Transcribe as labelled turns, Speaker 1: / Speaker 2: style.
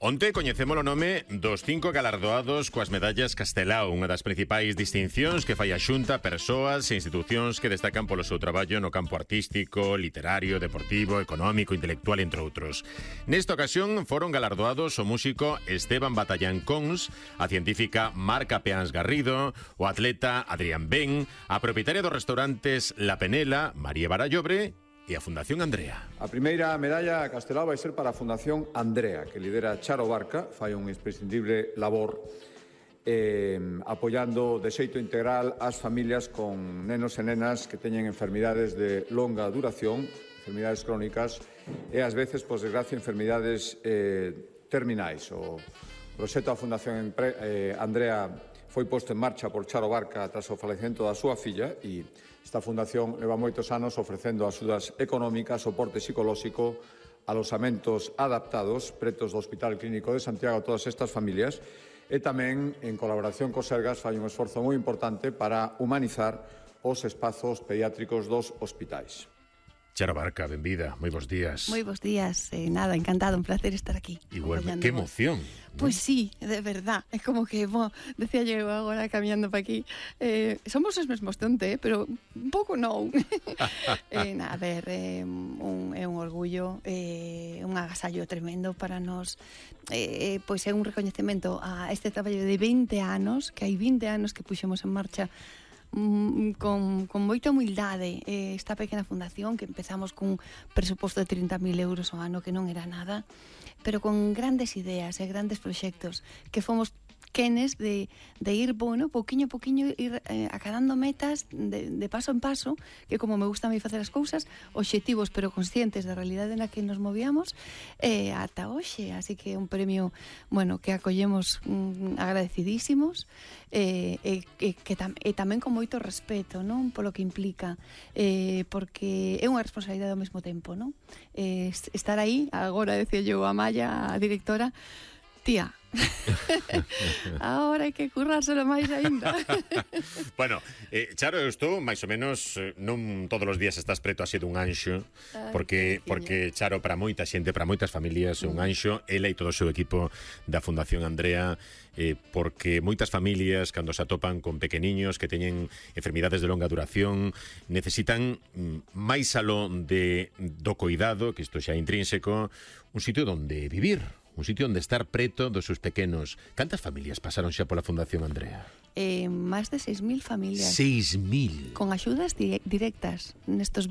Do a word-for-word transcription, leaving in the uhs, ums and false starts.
Speaker 1: Onte coñecemos o nome dos cinco galardoados coas medallas Castelao, unha das principais distincións que fai a Xunta a persoas e institucións que destacan polo seu traballo no campo artístico, literario, deportivo, económico, intelectual, entre outros. Nesta ocasión foron galardoados o músico Esteban Batallán Cons, a científica Marca Peáns Garrido, o atleta Adrián Ben, a propietaria dos restaurantes La Penela, María Barallobre, e a Fundación Andrea.
Speaker 2: A primeira medalla a Castelao vai ser para a Fundación Andrea, que lidera Charo Barca, fai un imprescindible labor eh, apoiando de xeito integral as familias con nenos e nenas que teñen enfermidades de longa duración, enfermidades crónicas e ás veces, por desgracia, enfermidades eh, terminais. O proxecto da Fundación eh, Andrea foi posto en marcha por Charo Barca tras o falecemento da súa filla e esta fundación leva moitos anos ofrecendo axudas económicas, soporte psicolóxico, alosamentos adaptados pretos do Hospital Clínico de Santiago a todas estas familias e tamén, en colaboración co Sergas, fai un esforzo moi importante para humanizar os espazos pediátricos dos hospitais.
Speaker 1: Charo Barca, benvida, moi bons días.
Speaker 3: Moi bons días, eh, nada, encantado, un placer estar aquí.
Speaker 1: Igual, que emoción.
Speaker 3: Pois pues sí, de verdad, é como que, bo, decía yo agora camiñando pa aquí, eh, somos os mesmos tonte, eh, pero un pouco non. eh, na, a ver, eh, un, é un orgullo, eh, un agasallo tremendo para nós, eh, pois é un recoñecemento a este traballo de vinte anos, que hai vinte anos que puxemos en marcha con, con moita humildade eh, esta pequena fundación que empezamos cun presuposto de trinta mil euros ao ano, que non era nada, pero con grandes ideas e grandes proxectos que fomos quenes de, de ir, bueno, pouquiño a pouquiño ir eh, acadando metas de, de paso en paso, que como me gusta a mí facer as cousas, obxectivos pero conscientes da realidade na que nos movíamos, eh, ata hoxe, así que un premio, bueno, que acollemos mm, agradecidísimos, eh, e, e, que tam, e tamén con moito respeto, non? Polo que implica, eh, porque é unha responsabilidade ao mesmo tempo, non? Eh, estar aí, agora decía yo a Maya, a directora, tía, ahora hai que currárselo máis aínda.
Speaker 1: Bueno, eh, Charo, eu estou máis ou menos, eh, non todos os días estás preto así dun anxo, porque porque Charo para moita xente, para moitas familias é un anxo, ela e todo o seu equipo da Fundación Andrea, eh, porque moitas familias cando se atopan con pequeniños que teñen enfermidades de longa duración necesitan mm, máis aló de do cuidado, que isto xa é intrínseco, un sitio donde vivir, un sitio onde estar preto dos seus pequenos. Cantas familias pasaron xa pola Fundación Andrea?
Speaker 3: Eh, máis de seis mil familias.
Speaker 1: seis mil?
Speaker 3: Con axudas di- directas nestos